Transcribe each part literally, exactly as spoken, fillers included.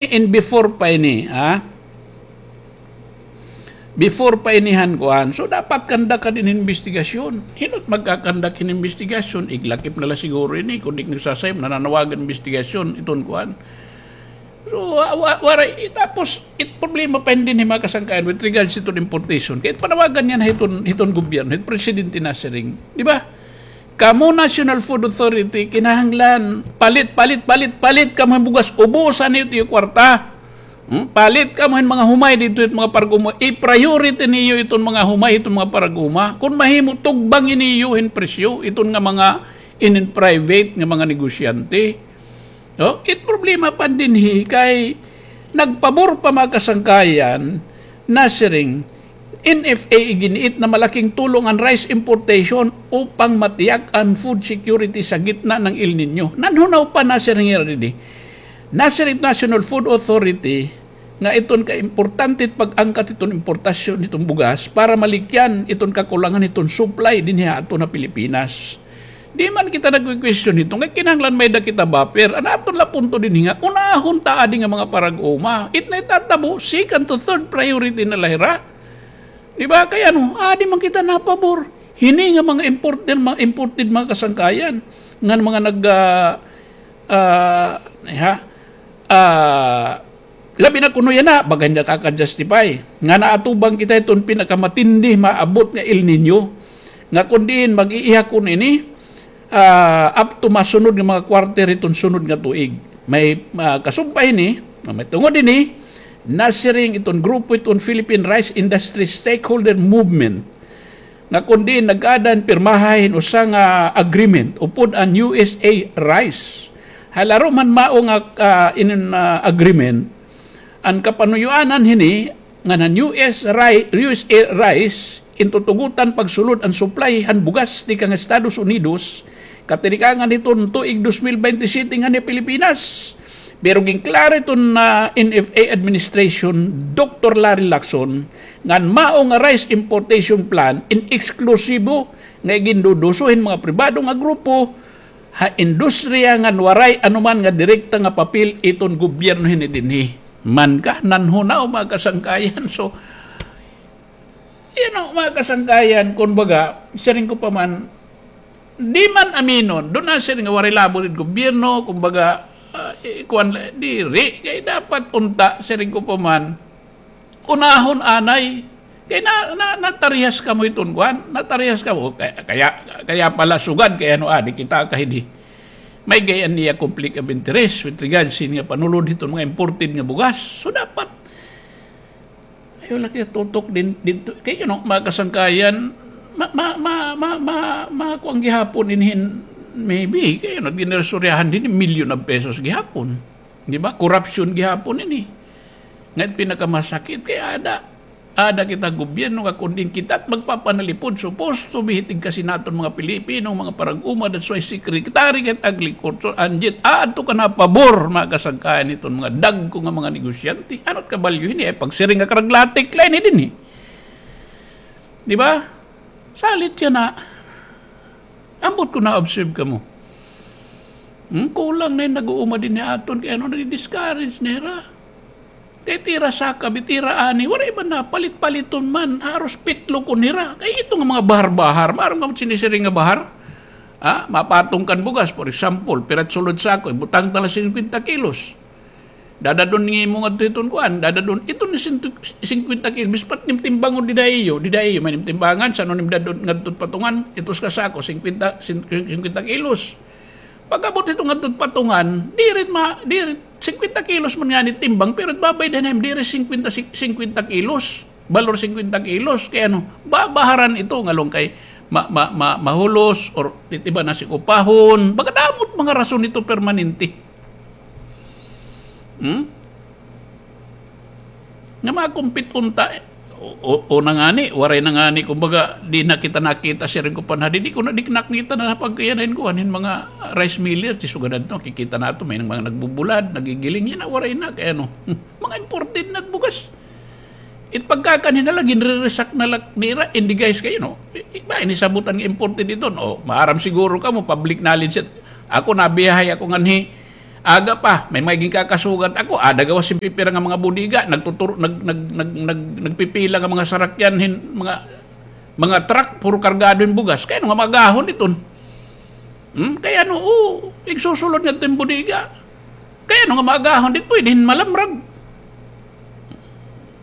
in before pa ini, ha? Before pa ini han kuan. So, dapat conduct ka din investigasyon. Hin-o it magka-conduct hin investigasyon, iglakip na la siguro ini, kun di nagsasayop, nananawagan investigasyon, iton kuan. So, wa-, wa-, waray, eh, tapos, it problema pa hin dinhi mga kasangkayan with regards to importation. Kay panawagan niyan hiton, hiton gobyerno, hit presidente nasiring. Di ba? Kamo National Food Authority, kinahanglan, palit, palit, palit, palit kamo hin bugas, ubusan niyo it iyo kwarta. Hmm? Palit kamo hin mga humay didto, it mga parag-uma. I-priority niyo iton mga humay, iton mga parag-uma. Kun mahimo, tugbangi niyo hin presyo, iton nga mga inin private nga mga negosyante. No? It problema pa dinhi kay nagpabor pa mga kasangkayan nasiring, N F A iginiit na malaking tulong an rice importation upang matiyak an food security sa gitna ng El Niño. Nanhunaw pa nasiring hira didi. Nasiring National Food Authority nga iton kaimportante it pag-angkat hiton importasyon hiton bugas para malikyan iton kakulangan hiton supply dinhi ha aton ha Pilipinas. Di man kita nagkukwestiyon hito, nga kinahanglan may-ada kita buffer. An aton la punto dinhi nga, unahon ta adi nga mga parag-uma. It na itatabo, second to third priority na la hira. Di ba? Kay ano, adi man kita napabor. Hini nga mga imported, mga imported mga kasangkayan. Ngan mga nag, ah, ah, ha? Ah, Labi na kuno yana, baga hin nakaka-justify. Nga naatubang kita hiton pinakamatindi maabot nga El Niño. Nga kun diin mag-iihakon ini, ah, up to masunod nga mga quarter hiton sunod nga tuig. May, ah, kasubay ini, may tungod ini, nasiring iton grupo hiton Philippine Rice Industry Stakeholder Movement nga kun diin nag-aada hin pirmaha hin usa nga agreement upod an U S A Rice. Ha laro man mao nga, ah, inin, ah, agreement, an kapanuyoanan hini ngan an U S Ri-, U S A Rice in tutugotan pagsulod an supply han bugas tikang Estados Unidos, katirikangan hiton tuig dos mil baynte siyete nganhi Pilipinas. Pero ginklaro hiton, ah, N F A administration, Doktor Larry Lacson, ngan mao nga rice importation plan in eksklusibo nga iginduduso hin mga pribado nga grupo ha industriya ngan waray anuman nga direkta nga papel iton gobyerno hini dinhi. Man ka, nanhunaw, mga kasangkayan. So, you know, mga kasangkayan, kun baga, siring ko pa man, di man aminon, duna siring nga waray labot it gobyerno, kumbaga, ah, eh, kuwan la, diri, kay dapat unta, siring ko pa man, unahon anay. Kay na, na, natarihas kamo iton kuan, natarihas kamo. Kaya, kaya, kaya pala sugad, kay ano, ah, di kita kahidi. May gay-an niya conflict of interest with regards sin nga panulod hiton mga imported nga bugas. So, dapat, ayaw la kita tutok din, didto. Kay, you know, mga kasangkayan, ma, ma, ma, ma, ma, ma, kuan gihapon inhin, maybe, kay, you know, ginresoryahan din, million of pesos gihapon. Di ba? Korupsyon gihapon ini. Nga it pinakamasakit kay ada, ada kita gobyerno nga kun diin kita it magpapanalipod, supposed to be hitig kasi naton mga Pilipino, mga parag-uma, that's why Secretary kay it Agriculture, anjit, adto ka na pabor, mga kasangkayan hiton mga dagko nga mga negosyante. Ano it kabalyo hini? Ay pagsiring nga karaglatik la ini dinhi. Di ba? Salit yana. Ambot kon na-observe kamo. Hmm, kulang na it nag-uuma dinhi aton, kay ano, nadi-discourage na hira. Kay it ira sakab, it ira ani, waray man napalit-paliton man, haros pitlokon hira. Kay ito nga mga bahar-bahar, maaram kamo it sinisiring nga bahar? Ha? Mapatong kan bugas, for example, pira it sulod sako, ibutang ta la singkwenta kilos. Dadad-on ngimo ngadto hiton kuan, dadad-on, ito ni sintu-, singkwenta kilos, bispat nim timbangon dida iyo, dida iyo, may nim timbangan, san-o nim dad-on ngadto patungan, itos ka sako, singkwenta, sin-, singkwenta kilos. Pag-abot hito ngadto patungan, diri ma-, diri, singkwenta kilos man ngani timbang, pero babay-adan na diri singkwenta, sing-, singkwenta kilos, balor singkwenta kilos, kay ano, babaharan ito, ngalong kay ma-, ma-, ma-, mahulos, or it iba na sing upahon, baga damo it mga rason ito permanente. Hmm? Nga makumpit unta, o, o, o na ngani, waray na ngani, kumbaga, di na kita nakita, siring ko pa na, di, di ko na, di nakita na pagkayanayin ko, anin mga rice miller, si sugadan to, kikita na to, may mga nagbubulad, nagigiling, yana, waray na, kay ano, mga imported na bugas. It pagkakan hin na la, ginreresak na la nira, in the guise kayo, no? I-, i-, ba, ini sabutan nga imported ito, no? Maaram siguro kamo, public knowledge it. Ako, nabiyahay ako nganhi, Aga pa, may mga ginkakasugat ako, ada gawas hin pipira nga mga bodega, nagtuturo, nag, nag, nag, nag, nagpipila nga mga sarakyan hin, mga, mga truck, puro kargado hin bugas. Kay ano nga maagahon iton? Hmm? Kay ano, o, igsusulod ngadto hin bodega. Kay ano nga maagahon, di pwede hin malamrag.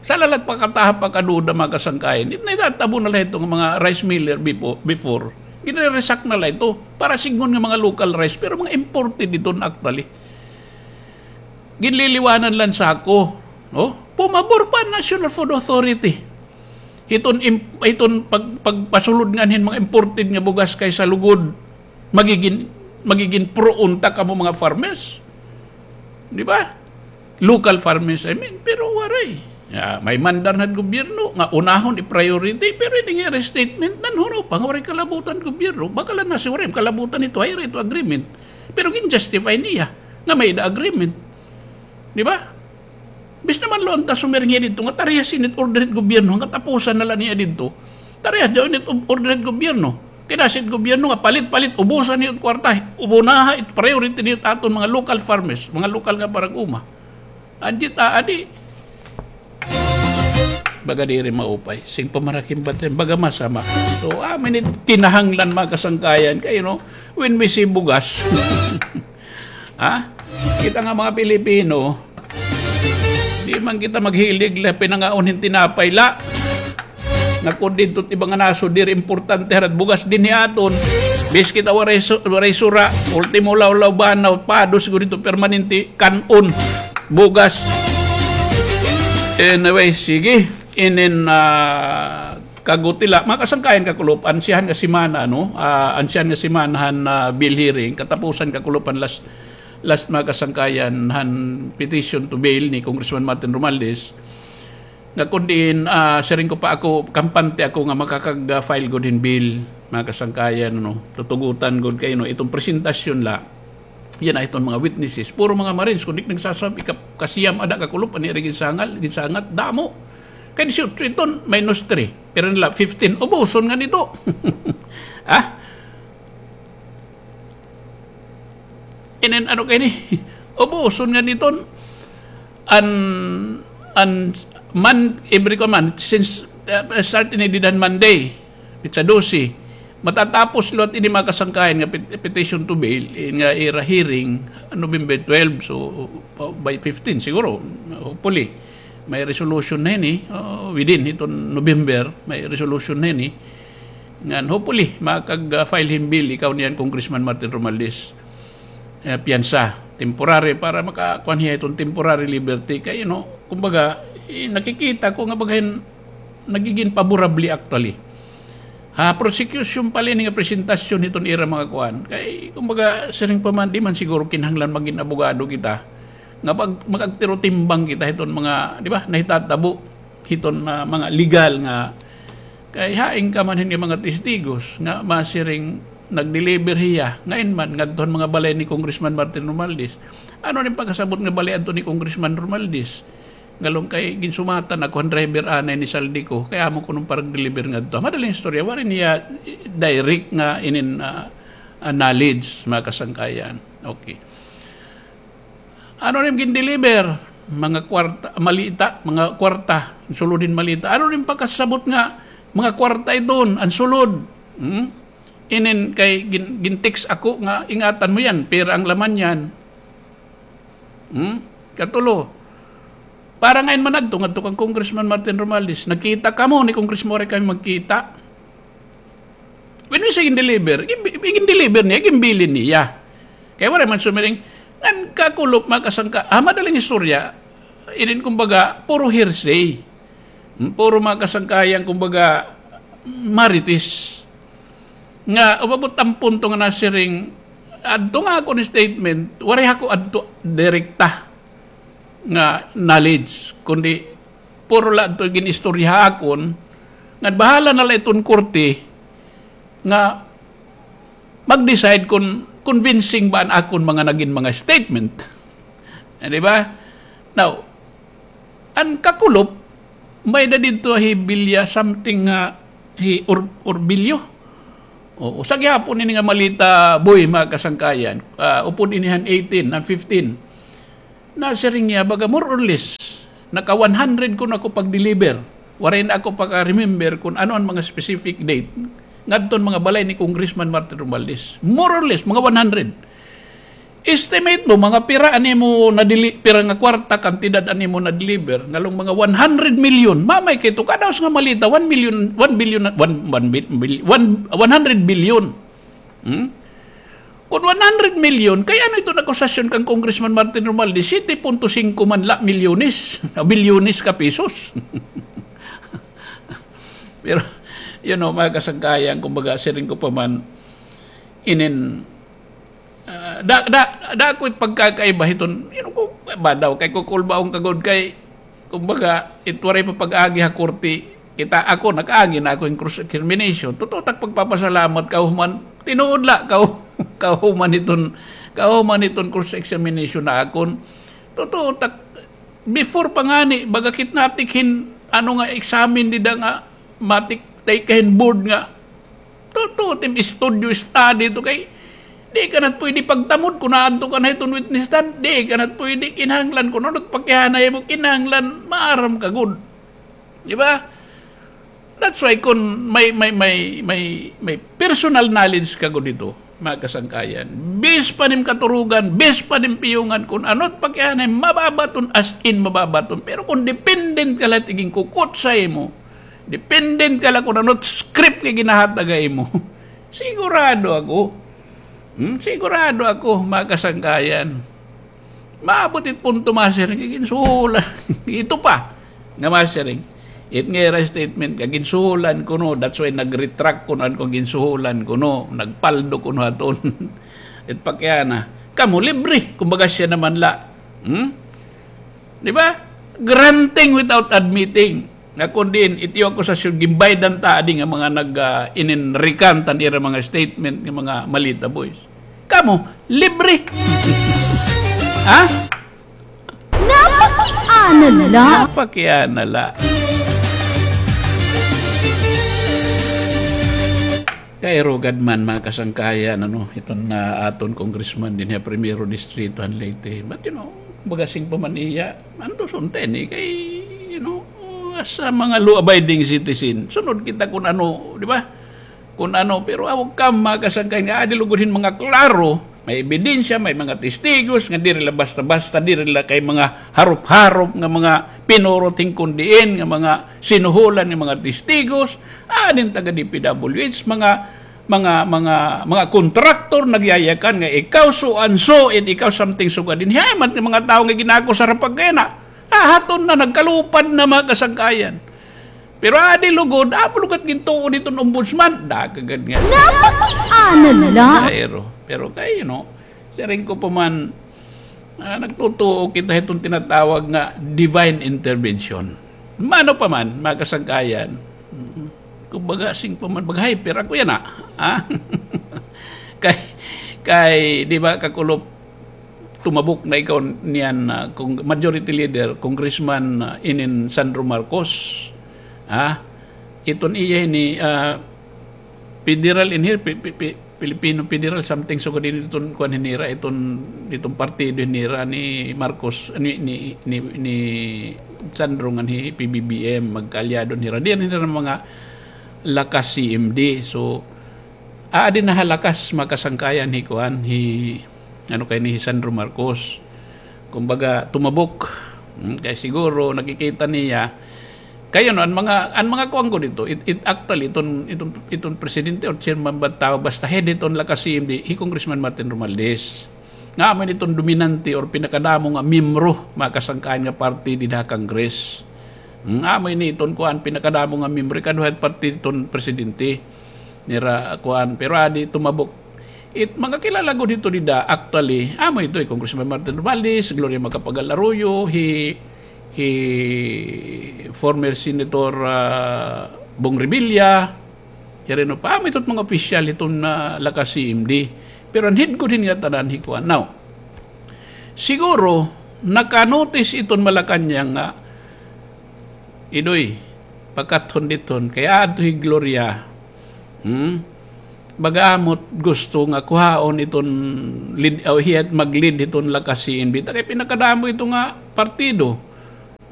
Sa lalat pakataha pakaduda, mga kasangkayan. It, nahitatabo na la ito nga mga rice miller befo-, before. Ginre-resack na la ito. Para sidngon nga mga local rice, pero mga imported iton actually. Ginliliwanan la hin sako, no? Pumabor pa an National Food Authority. Iton im-, iton pag-, pagpasulod ngan hin mga imported nga bugas kay sa lugod, magigin, magigin pro unta kamo mga farmers. Di ba? Local farmers, I mean, pero waray. Ya, may mandar na gobyerno nga unahon i-priority, pero ini nga statement, nanhuno pa nga waray kalabutan gobyerno. Baka la nasiring waray kalabutan ito, ay ito agreement. Pero gin-justify niya nga may-ada agreement. Di ba? Bis naman lo unta sumiring hiya didto nga tariha sin it order hit gobyerno, nga tapusan na la niya didto. Tariha daw ini it order hit gobyerno. Kay nasiring it gobyerno nga palit-palit, ubusan niyo it kwarta, ubunaha it priority niyo it aton mga local farmers, mga lokal nga parag-uma. Anjit aadi. Baga diri maupay. Sing pamarakim batin, baga masama. So, amin it kinahanglan, mga kasangkayan, kay, you know, when we see bugas, ha? Kita nga mga Pilipino, di man kita maghilig la pinangaon hin tinapay la. Nga kon didto it iba nga nasod, diri importante hira it bugas dinhi aton. Bis kita waray su-, waray sura, ultimo lawlaw banaw, pados gud ito permanente, kan-on, bugas. Anyway, sige. Inin, ah, kagutila. Mga kasangkayan, kakulop, ansyahan nga semana, no? Ah, ansyahan nga semana han, ah, bill hearing, katapusan, kakulop, han last, last, mga kasangkayan, han petition to bail ni Congressman Martin Romualdez. Nga kon diin, ah, siring ko pa ako, kampante ako nga makakag-, ah, file gud hin bill, mga kasangkayan, no? Tutugutan gud kay, no? Iton presentasyon la, yana iton mga witnesses, puro mga Marines, kundi nagsasabi, ka-, kasiyam ada kakulop, ani rin ginsangal, ginsangat, damo. Kay disiotso iton, minus three. Pero nila, fifteen, ubuson ngan ito. Ha? Inin, ano kay ni? Ubuson ngan iton, an, an, man, every command, since, uh, start ini dida han Monday, petsa dose, matatapos liwat ini, mga kasangkayan, nga pet-, petition to bail, in nga ira hearing, November twelve, so, pa-, by fifteen siguro, hopefully. May resolution na ini, oh, within iton November, may resolution na ini. Ngan, hopefully, makag-, ah, file hin bill, ikaw niyan, Congressman Martin Romualdez. Eh, piyansa, temporary, para makakuan hiya iton temporary liberty. Kay, you know, kumbaga, eh, nakikita ko nga baga hin nagigin paborable actually. Ha, prosecution pala ini nga presentasyon hiton ira mga kuan. Kay, kumbaga, siring pa man, di man siguro kinahanglan magin abogado kita. Nga pag, makagtirotimbang kita hiton mga, di ba, nahitatabo hiton, ah, mga legal nga, kay hain ka man hin mga testigos nga masiring nag-deliver hiya, ngain man, ngadto han mga balay ni Congressman Martin Romualdez. Ano nin pagkasabot nga balay adto ni Congressman Romualdez? Ngalon kay ginsumatan ako han driver anay ni Saldico, kay amo kuno parag-deliver ngadto. Madaling istorya, waray niya direct nga inin, ah, ah, knowledge, mga kasangkayan. Okay. Ano nim gin-deliver? Mga kwarta, malita, mga kwarta, sulod hin malita. Ano nim pagkasabot nga mga kwarta iton, an sulod? Hmm? Inin kay gin-, gin-text ako nga, "Ingatan mo yan, pera ang laman niyan." Hmm? Katulo, para ngain man adto, ngadto kan Congressman Martin Romualdez, nagkita kamo ni Congressman, waray kami magkita. When we say gin-deliver, gin-, gin-deliver niya, ginbilin niya. Kay waray man sumiring, ngan kakulop, mga kasangka, ah, madaling istorya, inin kumbaga, puro hearsay. Hmm, puro mga kasangkayan, kumbaga, marites. Nga, umabot an punto nga nasiring, adto nga akon statement, waray ako adto direkta nga knowledge, kundi puro la adto gin-istorya ha akon, nga bahala na la iton korte nga mag-decide kon convincing ba an akon mga nagin mga statement. Eh, di ba? Now, an kakulop, may-ada didto hi Bilya something nga hi Or-, Orbilio. Oo, sa gihapon ini nga malita, boy, mga kasangkayan, ah, upod ini han eighteen, han fifteen. Nasiring niya, baga more or less, naka one hundred kuno ako pag-deliver. Waray na ako paka-remember kun ano an mga specific date ngadton mga balay ni Congressman Martin Romualdez. More or less, mga one hundred. Estimate mo, mga pira an imo nadili-, pira nga kwarta, kantidad an imo na-deliver, ngalong mga one hundred million. Mamay kay ito, kadaos nga malita, one million, one billion, one, one bi-, bil-, one, one hundred billion. Hmm? Kun one hundred million, kay ano iton akusasyon kan Congressman Martin Romualdez, siyete punto singko man la milyones, bilyones ka pesos. Pero, you know, mga kasangkayan, kumbaga, siring ko pa man, inin, ah, da, da, da ako'y pagkakaiba hiton, you know, ko, ba daw, kay kukulbaon ka gud kay, kumbaga, it waray pa pag-agi ha korte, kita ako, nag-agi na ako hin cross-examination. Totoo tak pagpapasalamat kahuman, tinuod la, kahu-, kahuman hiton, kahuman hiton cross-examination na akon. Totoo tak, before pa ngani, baga kit natik hin, ano nga, examine dida nga, matik, take hin board nga, Tutuo tim studio study to kay di ka na pwede pagtamod kun naadto ka na hiton witness stand, di ka na pwede kinahanglan kun ano it pakihanay mo, kinahanglan maaram ka gud. Di ba? That's why kun may, may, may, may, may personal knowledge ka gud dito, mga kasangkayan. Bis pa nim katurugan, bis pa nim piyungan kun ano it pakihanay, mababaton, as in mababaton. Pero kun dependent ka lahat iging kukot sa imo, Dependent ka la kun ano script nga ginahatag ha imo. Sigurado ako. Hmm? Sigurado ako, mga kasangkayan. Maabot it punto, masiring, kay ginsuhulan. Ito pa, nga masiring. It nga ira statement ka, ginsuhulan kuno. That's why nag-retract kuno an ko, ginsuhulan kuno. Nagpaldo kuno haton. It pakiana. Kamo, libre. Kumbaga siya naman la. Hmm? Di ba? Granting without admitting. Nga kun diin, it iyo akusasyon, gimbaydan ta adi nga mga nag, ah, ininrikan tan ira mga statement nga mga malita boys. Kamo, libre. Ha? Napakiana la. Napakiana la. Kay rugad man, mga kasangkayan, ano, iton na aton congressman dinhi ha Primero Distrito han Leyte. But, you know, bagasing pa man iya, antos unta ini kay, you know, as a mga law-abiding citizen, sunod kita kun ano, di ba? Kun ano, pero aw kam, mga kasangkayan, nga adi lugod hin mga klaro, may ebidensya, may mga testigos, nga diri la basta-basta, diri la kay mga harop-harop nga mga pinurot hin kun diin, nga mga sinuhulan nga mga testigos, adin taga D P W H, mga, mga, mga, mga kontraktor nagyayakan nga ikaw so and so, and ikaw something so gadin. Hiya man nga mga tawo nga ginakusar ha pagkayana. Hahaton na, nagkalupad na, mga kasangkayan. Pero adi lugod, amo lugod gintuo diton ombudsman. Dakagad nga. Napakiana la. Pero, pero kay, you know, siring ko pa man, ah, nagtutuo kita hiton tinatawag nga divine intervention. Mano pa man, mga kasangkayan. Mm. Kumbaga, sing pa man, baga hyper ako yana, ha? Kay, kay, di ba, kakulop, tumabok na ikaw niyan, ah, kung majority leader, Congressman, ah, inin Sandro Marcos, ha? Iton iya ini, ah, federal in here, pi-, pi-, pi-, Filipino Federal, something sugad ini iton kuan hin nira, iton, iton partido hin nira ni Marcos, ni, ni, ni, ni Sandro ngan hi P B B M, magkaalyado hin nira. Diri hin nira mga lakas C M D. So, adi na ha lakas, mga kasangkayan, hi kuan, hi, ano kay ni, hi Sandro Marcos. Kumbaga, tumabok. Hmm, kay siguro, nakikita niya, kay ano, an mga, an mga kuan ko dito, it, it, actually, iton, iton, iton presidente or chairman ba tawo, basta head iton lakas C M D, hi Congressman Martin Romualdez. Nga amo ini iton dominante or pinakadamo nga miyembro, mga kasangkayan, nga party dida ha Congress. Nga amo ini iton kuan, pinakadamo nga miyembro, ikaduha party iton presidente nira kuan, pero adi tumabok. It mga kilala gud hito dida, actually, amo ito, hi Congressman Martin Romualdez, Gloria Macapagal Arroyo, hi, hi former Senator, ah, Bong Revilla, hi Reno pa, amo ito mga opisyal hiton, ah, lakas C M D. Pero an head gud hin ngatanan hi kuan. Now, siguro, naka-notice iton Malacañang nga, Idoy, pakathon diton, kay adto hi Gloria. Hmm? baga amo it gusto nga kuhaon iton lead, o hiya it mag-lead hiton Lakas-C M D ta kay pinakadamo ito nga partido,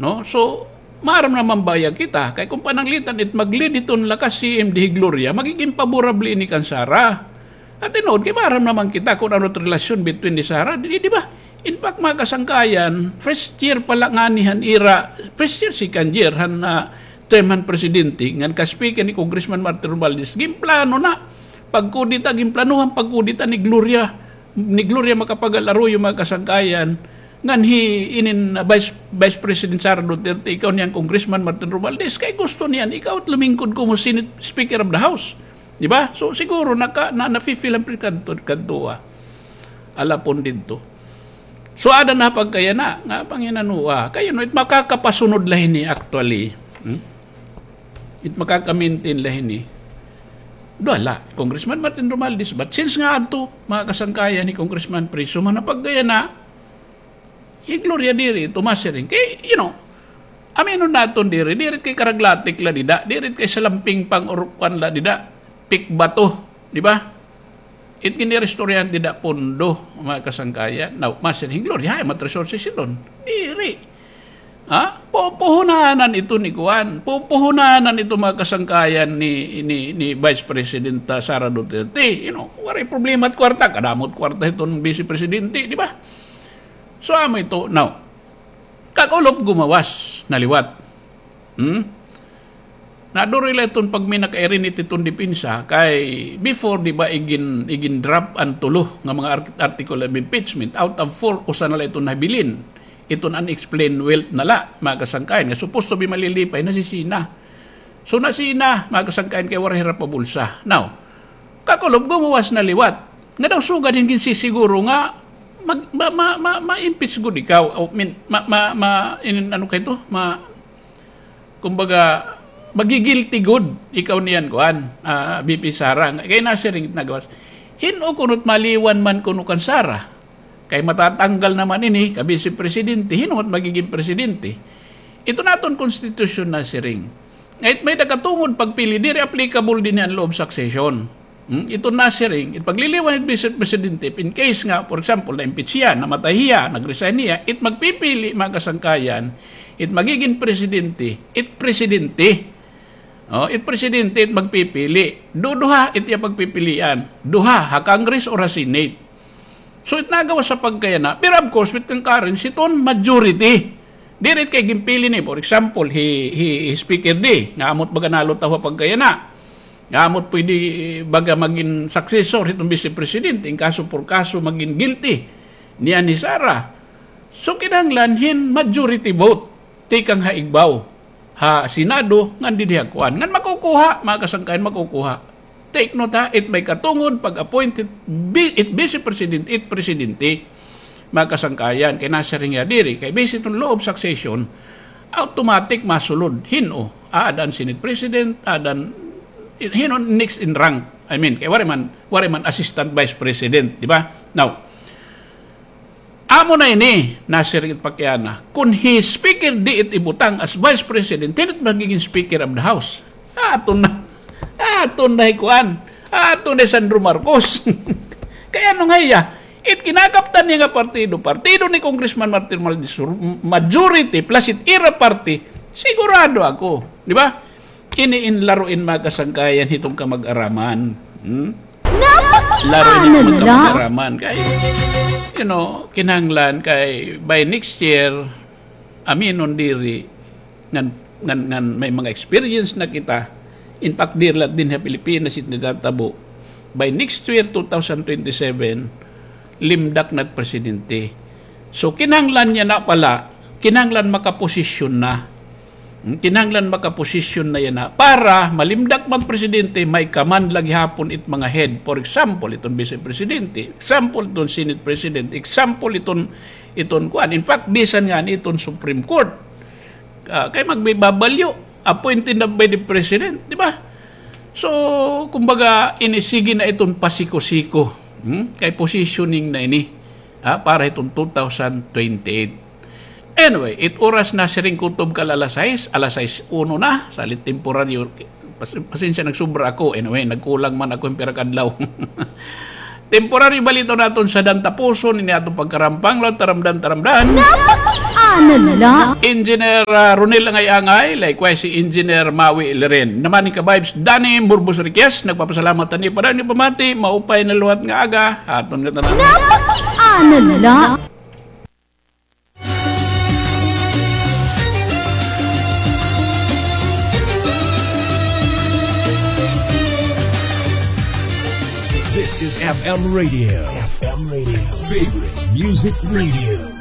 no? So, maaram naman baya kita, kay kon pananglitan it mag-lead hiton Lakas-C M D hi Gloria, magigin favorable ini kan Sara. At tinuod, kay maaram naman kita kon ano it relasyon between ni Sara, di, di ba? In fact, mga kasangkayan, first year pa la ngani han ira, first year, second year han, ah, term han presidente, ngan ka-speaker ni Congressman Martin Romualdez, ginplano na, pagkudeta, ginplano han pagkudeta ni Gloria, ni Gloria Macapagal Arroyo, mga kasangkayan, ngan hi, inin, ah, Vice, Vice President Sara Duterte, ikaw niyan Congressman Martin Romualdez, kay gusto niyan, ikaw it lumingkod komo Senate Speaker of the House. Di ba? So, siguro naka, na, nafi-feel an pre-, kadto, kadto, ah. Alapon didto. So, ada na pagkayana, nga panginanua. Kay, you know, it makakapasunod la hini actually. Hmm? It makaka-maintain la hini. Duha la, Congressman Martin Romualdez. But since nga adto, mga kasangkayan ni Congressman Prieto, man na pagkayana, hi Gloria diri ito masiring. Kay, you know, aminon naton diri, diri kay karaglatik la dida, diri kay salamping pang-urukwan la dida, pikbato, di ba? It giniristoryahan dida pondo, mga kasangkayan. Now, masiring hi Gloria, hay, mat resources iton. Diri. Ha? Pupuhunanan ito ni kuan. Pupuhunanan ito mga kasangkayan ni, ni, ni Vice President, ah, Sara Duterte. You know, waray problema it kwarta. Kadamo it kwarta iton Vice Presidente, di ba? So, amo ito. Now, kag-ulop gumawas na liwat. Hmm? Naduri la iton pagminakairinit iton depensa kay before, di ba, igin-, igin-drop an tulo nga mga art-, article of impeachment. Out of four, usa na la iton nabilin. Iton unexplained wealth na la, mga kasangkayan. Nga supposed to be malilipay, nasisina. So, nasina, mga kasangkayan, kay waray hira pabulsa. Now, kag-ulop gumawas na liwat. Nga daw sugad hin ginsisiguro nga mag-, ma-, ma-, ma-, ma-impeach gud ikaw. I mean, ma-, ma-, ma-, in-, ano kay to? Ma-, kumbaga, magi-guilty gud ikaw niyan, kuan, ah, V P Sara. Kay nasiring it nagawas. Hin-o kuno it maliwan man kuno kan Sara? Kay matatanggal naman ini ka Vice Presidente, hin-o it magigin presidente? Iton aton konstitusyon nasiring nga it may-ada katungod pagpili, diri applicable dinhi an law of succession. Hmm? Iton nasiring, it pagliliwan it Vice Presidente, if in case nga, for example, na-impeach hiya, namatay hiya, nag-resign hiya, it magpipili, mga kasangkayan, it magigin presidente, it presidente. Oh, it presidente, it magpipili. Duduha, it iya pagpipilian. Duha, ha Congress or ha Senate. So, it nagawas sa pagkayana. Pero of course, with concurrence, iton majority. Diri it kay ginpili ni, for example, hi, hi, hi Speaker D, nga amo it baga nalutaw ha pagkayana. Nga amo it pwede, eh, baga magin successor hiton Vice Presidente, in kaso por kaso magin guilty niyan hi Sara. So, kinahanglan hin majority vote tikang ha igbaw, ha Senado, ngan didi ha kuan. Ngan makukuha, mga kasangkayan, makukuha. Take note, ha, it may katungod pag-appoint it bi-, it Vice President, it Presidente, mga kasangkayan, kay nasiring hiya diri, kay based on law of succession, automatic masulod. Hin-o, aada an Senate President, aada an, hin-o next in rank. I mean, kay waray man, waray man Assistant Vice President, di ba? Now, amo na ini, nasiring it pagkayana. Kon hi Speaker D it ibutang as Vice President, hin-o it magigin Speaker of the House? Aton na. Aton na hi kuan. Aton na hi Sandro Marcos. Kay ano nga hiya? It kinakaptan niya nga partido, partido ni Congressman Martin Romualdez, majority plus it ira party, sigurado ako. Di ba? Ini in laro in mga kasangkayan hiton kamag-araman. Hmm? Laro ini mga kamag-araman. Kay, you know, kinahanglan kay by next year, aminon diri, ngan, ngan, ngan may mga experience na kita. In fact, diri la dinhi ha Pilipinas it natatabo. By next year, two thousand twenty-seven, limdak na it presidente. So, kinahanglan niya na pala, kinahanglan makaposisyon na. Hmm, kinahanglan makaposisyon na yana para malimdak man presidente, may command la gihapon it mga head. For example, iton Vice Presidente. Example, iton Senate President. Example, iton, iton kuan. In fact, bisan ngani iton Supreme Court. Ah, kay magbibabalyo, appointed na by the President, di ba? So, kumbaga, inisige na iton pasiko-siko. Hmm? Kay positioning na ini, ha, para hiton two thousand twenty-eight. Anyway, it oras na siring kutob ka la alas sais, alas sais uno na, salit temporaryo, Pas-, pasensya, nagsubra ako. Anyway, nagkulang man ako hin pira ka adlaw. Temporary balita naton sa dantapuson ini aton pagkarampang, law, taramdan, taramdan. Napakiana la. Engineer, ah, Ronel Angay-Angay, likewise si Engineer Maui Liren. Naman ni ka-vibes Danny Murbos Riquez, nagpapasalamat ani para ni pamati, maupay na liwat nga aga, aton nga tanan. Napakiana la. This is F M Radio. F M Radio. Favorite Music Radio.